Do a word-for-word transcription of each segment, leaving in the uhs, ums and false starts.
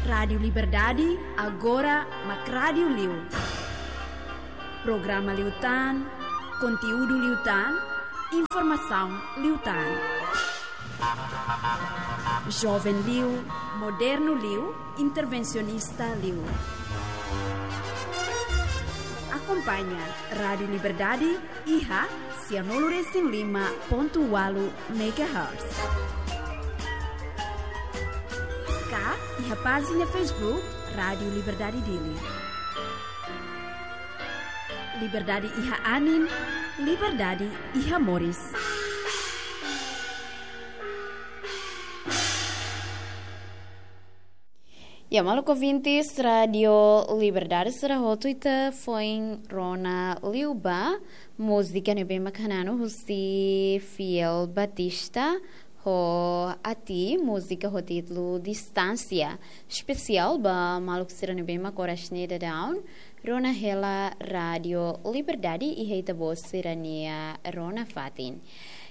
Rádiu Liberdade, agora mak rádiu liu. Programa liután, konteúdu liután, informasaun liután. Joven liu, modernu liu, intervensionista liu. Akompaña Rádiu Liberdade iha sianulu resin lima pontu ualu megahertz. Ka iha pájina Facebook Rádiu Liberdade Dili. Liberdade iha anin, liberdade iha moris. Ya, maluk ouvintes Rádiu Liberdade, sira hotu ita foin rona liu ba múzika ne'ebé mak hananu husi Fiel Batista ho Ati, múzika ho títulu Distánsia. Espesiál ba maluk sira ne'ebé mak oras ne'e daudaun rona hela Rádiu Liberdade iha ita-boot sira-nia rona fatin.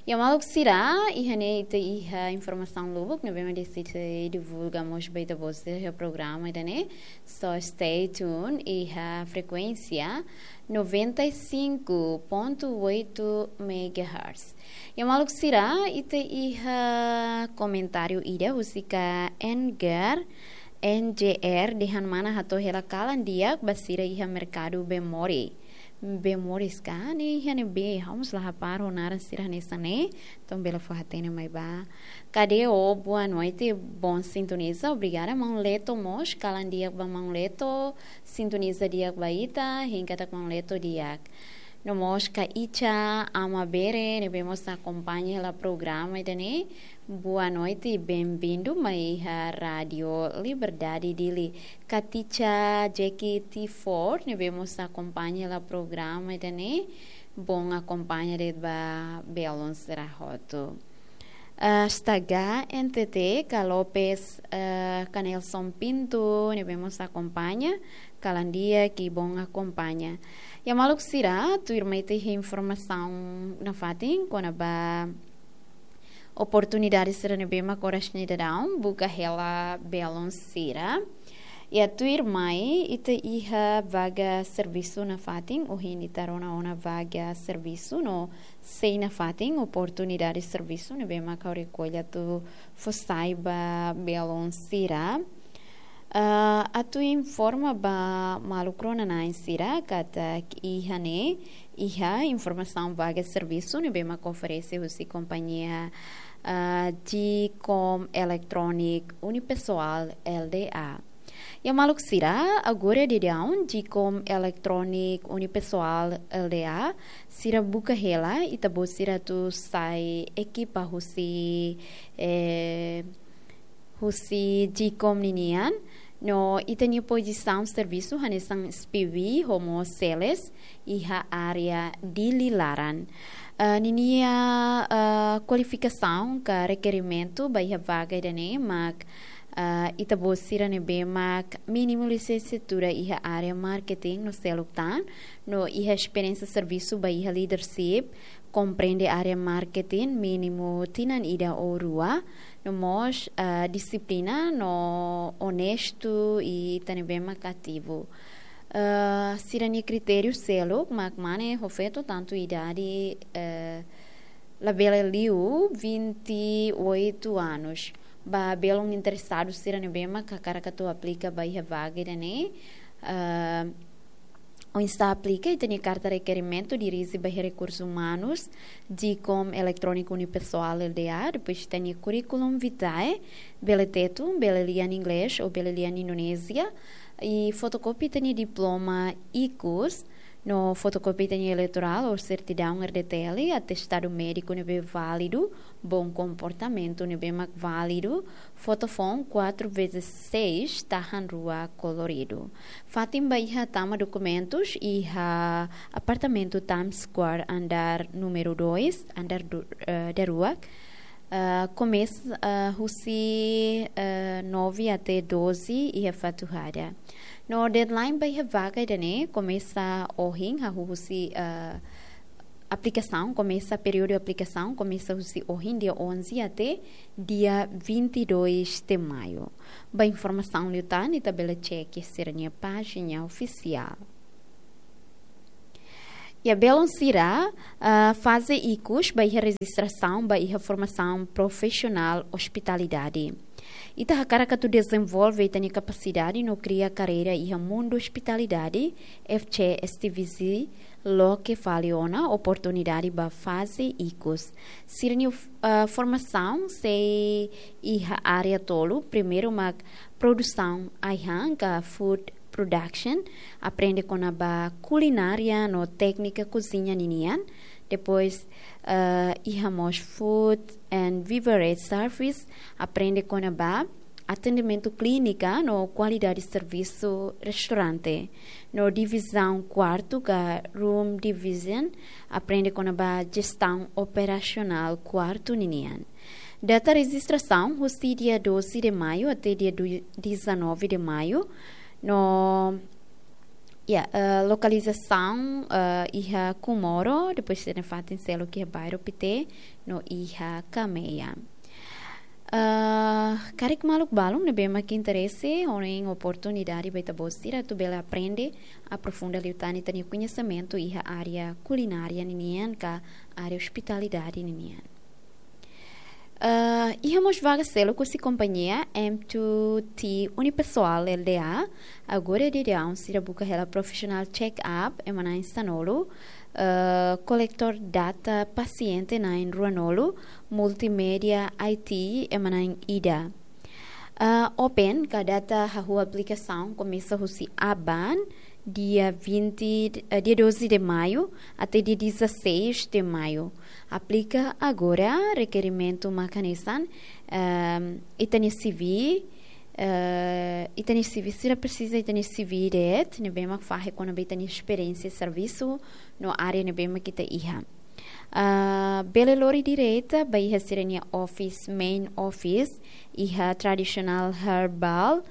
Ya, maluk sira, iha ne'e ita iha informasaun lubuk ne'ebé mak deside divulga mós ba ita-boot sira iha programa ida-ne'e. So stay tuned iha frekuénsia noventa e cinco ponto oito megahertz. Ya, maluk sira, ita iha komentáriu ida husik N G R, N G R dehan mana hato'o hela kalan di'ak ba sira iha merkadu Bemore. Bemoris ka, ne'e iha ne'ebé, ha'u mós la hapara ho naran sira hanesan ne'e, entaun bele fó hatene mai ba. Kadeo, boa noite, bom sintoniza, obrigada, maun Leto mós, kalan di'ak ba maun Leto, sintoniza di'ak ba ita, hein katak maun Leto di'ak. No mós Kaicha Amabere, ne'ebé mós akompaña hela programa ida-ne'e. Boa noite, bem-vindo mai iha Rádiu Liberdade Dili. Katicha Jackie T Ford, ne'ebé mós akompaña hela programa ida-ne'e. Bom akompaña de'it ba belun sira hotu. Ah, Staga N T T, Ka Lopes, ah, Ka Nelson Pinto, ne'ebé mós akompaña, kalan di'ak, bom akompaña. Ya, maluk sira, tuirmai ita iha informasaun nafatin kona-ba oportunidade sira ne'ebé mak oras ne'e daudaun buka hela belun sira. Ya, tuirmai ita iha vaga servisu nafatin, ohin ita rona ona vaga servisu no sei nafatin oportunidade servisu ne'ebé mak ha'u rekolla atu fó sai ba belun sira. Ah, atu informa ba maluk rona-na'in sira katak iha ne'e iha informasaun vaga servisu ne'ebé mak oferese husi kompañia, ah, Dicom Electronic Unipessoal L D A. Ya, maluk sira, agora daudaun Dicom Electronic Unipessoal L D A sira buka hela ita-boot sira atu sai ekipa husi, eh, husi Dicom ninian, no ita-nia pozisaun servisu hanesan SPV ho mós sales iha área Dili laran. Ah, ninia, ah, kualifikasaun ka rekerimentu ba iha vaga ida-ne'e mak, ah, ita-boot sira ne'ebé mak mínimu lisensiatura iha área marketing no seluk tan, no iha esperiénsia servisu ba iha leadership, komprende área marketing mínimu tinan ida ou rua, no mós, ah, dixiplina no onestu i ita ne'ebé mak ativu. Ah, sira-nia kritériu seluk mak mane ho feto, tantu idade, eh, labele liu vinte e oito anos. Ba belun interesadu sira ne'ebé mak hakarak atu aplika ba iha vaga ida-ne'e, ah, oinsá aplika, ita-nia karta rekerimentu dirije ba iha Rekursus Umanus, Dicom Electronic Unipessoal L D A, depois ita-nia curriculum vitae, bele Tetun, bele lian Inglés ou bele lian Indonézia, i fotokópia ita-nia diploma ikus, no fotokópia ita-nia eleitorál ou sertidaun R D T L, atestadu médiku ne'ebé válidu, bom comportamento ne'ebé mak válidu, foto foun quatro vezes seis, tahan rua koloridu. Fatin ba iha tama dokumentus iha apartamentu Times Square, andár númeru dois, andár du-, eh, daruak. Eh, komesa, eh, husi, eh, nove até doze iha Fatuhada. No deadline ba iha vaga ida-ne'e komesa ohin, hahú husi, eh, Aplikasaun komesa, períodu aplikasaun komesa husi ohin dia onze até dia vinte e dois de maio. Ba informasaun liután ita bele cek sira-nia pájina ofisiál. Ya, belun sira, ah, faze ikus ba iha rejistrasaun ba iha formasaun profisionál ospitalidade. Ita hakarak atu dezenvolve ita-nia kapasidade no kria karreira iha mundu ospitalidade, F C S T V C loke fali ona oportunidade ba faze ikus. Sira-nia, ah, formasaun sei iha área tolu, primeiru mak produsaun ai-han ka food production, aprende kona-ba kulinária no téknika kozinha ninian. Depois, ah, iha mós food and beverage service, aprende kona-ba atendimentu klínika no kualidade servisu restaurante. No divizaun kuartu ka room division, aprende kona-ba jestaun operasionál kuartu ninian. Data rejistrasaun husi dia doze de maio até dia du-, dezanove de maio. No, ya, eh, lokalizasaun, eh, iha Comoro, depois sira-nia fatin seluk iha bairru Pité, no iha Cameia. Eh, karik maluk balun ne'ebé mak interese, ho oportunidade ba ita-boot sira atu bele aprende, aprofunda liután ita-nia koñesimentu iha área kulinária ninian ka área ospitalidade ninian. Eh, iha mós vaga seluk husi kompañia M two T Unipessoal L D A. Agora daudaun sira buka hela profissional check-up, ema na'in sanulu, eh, kolektór data pasiente na'in ruanulu, multimédia I T, ema na'in ida. Ah, open ka data hahú aplikasaun komesa husi aban, dia vinte, eh, dia doze de maio até dia dezasseis de maio. Aplika agora, rekerimentu mak hanesan, ehm, ita-nia C V, eh, ita-nia C V, sira presiza ita-nia C V de'it, ne'ebé mak fahe kona-ba ita-nia esperiénsia servisu no área ne'ebé mak ita iha. Ah, bele lori direta ba iha sira-nia office, main office, iha Traditional Herbal,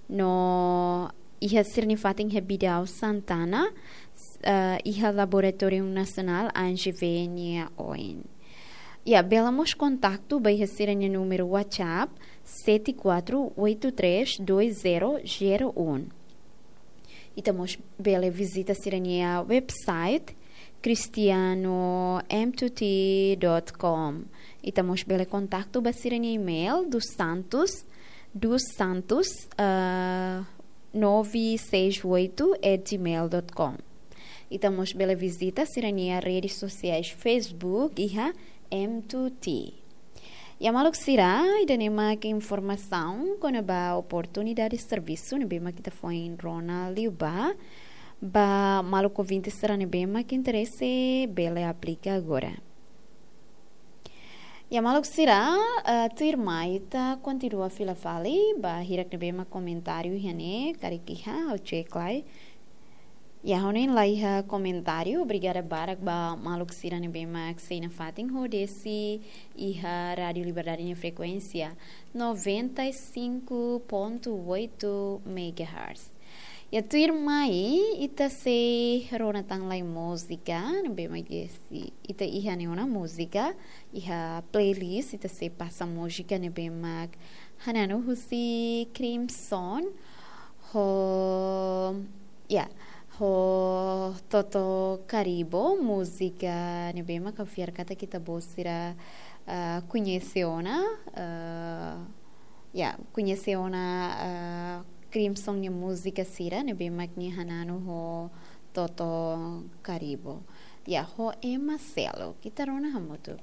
no iha sira-nia fatin iha Bidau Santana, s-, ah, iha Laboratóriu Nasionál A N G V nia oin. Ya, bele mós kontaktu ba iha sira-nia númeru WhatsApp, sete quatro oito três dois zero zero um. Ita mós bele vizita sira-nia website, cristiano m two t dot com. Ita mós bele kontaktu ba sira-nia email, dos santos, dos santos, ah, nove seis oito at gmail dot com. Ita mós bele vizita sira-nia redes sosiais Facebook, iha M two T. Ya maluk sira, ida-ne'e mak informasaun kona-ba oportunidade servisu ne'ebé mak ita foin rona liubá. Ba maluk ouvinte sira ne'ebé mak interese, bele aplika agora. Ya maluk sira, eh, tuirmai ita kontinua fila fali ba hirak ne'ebé mak komentáriu iha ne'e, karik iha, ha'u cek lai. Ya, ha'u hanoin la iha komentáriu. Obrigada barak ba maluk sira ne'ebé mak sei nafatin ho desi iha Rádio Liberdade nia frekuénsia noventa e cinco ponto oito megahertz. Ya, tuirmai ita sei rona tan lai múzika ne'ebé mak desi ita iha ne'e ona múzika, iha playlist ita sei pasa múzika ne'ebé mak hananu husi Crimson ho, ya, ho Toto Caribo, múzika ne'ebé mak ha'u fiar katak ita-boot sira, ah, koñese ona, ah, ya, koñese ona, ah, Crimson nia múzika sira ne'ebé mak nia hananu ho Toto Caribo. Ya, ho ema seluk. Ita rona hamutuk.